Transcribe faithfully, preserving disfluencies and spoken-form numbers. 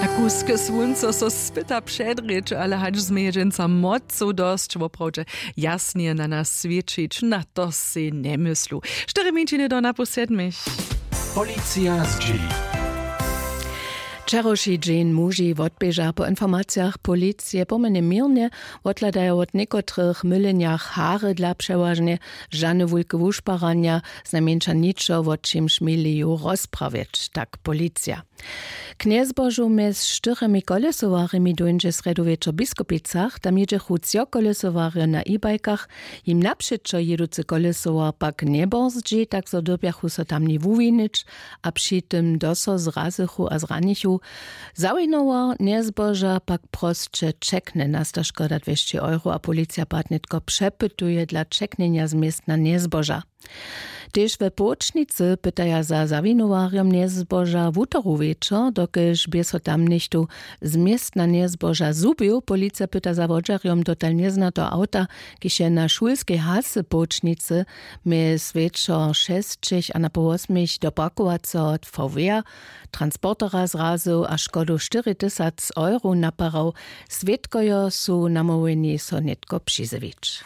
A kusk słónco so spyta předrěč, ale hač změje dźensa mocow dosć woprawdźe jasnje na nas swěćić, na to sej njemyslu. Štyri minčiny do napoł sedmich. Policija zdźěli. Wčerawši dźeń muži wotběža po informacijach policije pomjene měrnje, wothladajo wot někotrych mylenjach hary dla přewažnje, žane wulke wušparanja, znajmjeńša ničo wot čimž měli ju rozprawjeć, tak policija. K njezbožu mjez štyrjemi kolesowarjemi dóńdźe srjedu wječor w biskupicach. Tam jědźechu třo kolesowarjo na e-bajkach, jim napřećo jěducy kolesowar pak njeborzdźi, tak zo dyrbjachu so tamni wuwinić, a při tym doso zrazychu a zranichu. Zawinowar njezboža pak prosće ćeknje, nasta škoda dwěsći euro a policija pak nětko přepytuje dla ćeknjenja z městna njezboža. Tež we połčnicy pytaja za zawinowarjom njezboža wutoru wječor, dokelž bě so tam něchtó z městna njezboža zhubił. Policija pyta za wodźerjom dotal njeznateho awta, kiž je na šulskej hasy połčnicy mjez wječor šesćich a napoł wosmich do parkowaceho vw transportera zrazył a škodu štyri tysac euro naparał. Swědkojo su namołwjeni so nětko přizjewić.